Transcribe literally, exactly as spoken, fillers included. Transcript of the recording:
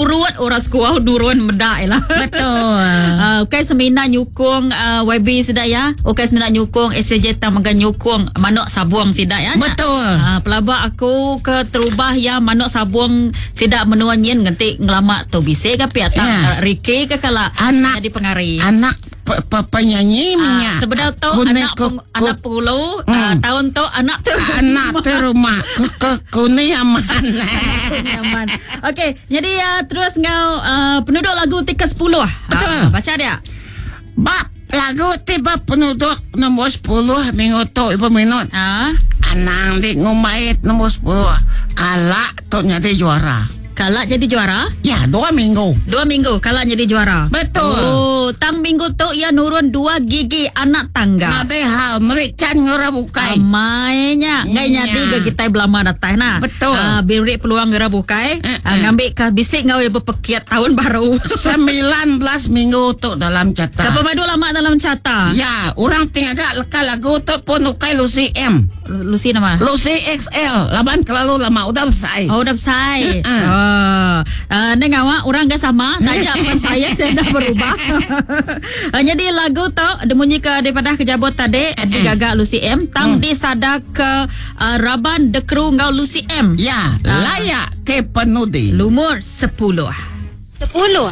Surut orang sekuau nurun meda lah. Betul. Uh, okay, semina nyukung uh, Y B sida ya. Okay, semina nyukung S J tang mega nyukung manuk sabung sida ya. Betul. Uh, pelaba aku ke terubah ya manuk sabung sida menua nyin nganti ngelama tu bisa ke pia tak Ya. Ricky ke kala Anak- jadi pengari. Anak pe, pe, penyanyi Ah, minyak. sebenar tu Kuning anak ku- peng, anak pengulu Hmm. uh, tahun tu anak tu anak tu rumah ke ke kuning aman. Nyaman. Okey, jadi uh, terus ngau uh, penduduk lagu ti kesepuluh. Betul. Ah, baca dia. Bab lagu tiba penduduk nombor sepuluh minggu tu ibu minut. Ah, Anang di ngumbait nombor sepuluh. Kalak tu jadi juara. Kalak jadi juara. Ya, dua minggu. Dua minggu kalak jadi juara. Betul. Oh, tang minggu tu ia nurun dua gigi anak tangga. Nade hal merican ngora bukai. Amainya ngai Nya. nyadi ke kita belama datang nah. Betul. Ah, beri peluang ngera bukai. Eh, Ah, eh. ngambil ke bisik ngau ya berpekiat tahun baru. Sembilan belas minggu tu dalam carta. Kapal madu lama dalam carta. Ya, orang tinggal leka lagu tu pun ukai Lucy M. Lucy nama. Lucy X L. Laban kelalu lama udah selesai. Oh, dah selesai. Eh, eh. Oh. Uh, neng awak orang gak sama, tanya apa saya saya dah berubah. Uh, jadi lagu tu demunyi ke daripada kejabot tadi digagak Lucy M tang disada ke uh, Raban The Crew ngau Lucy M. Ya, Ah. layak ke penudi. Lumur sepuluh. Sepuluh.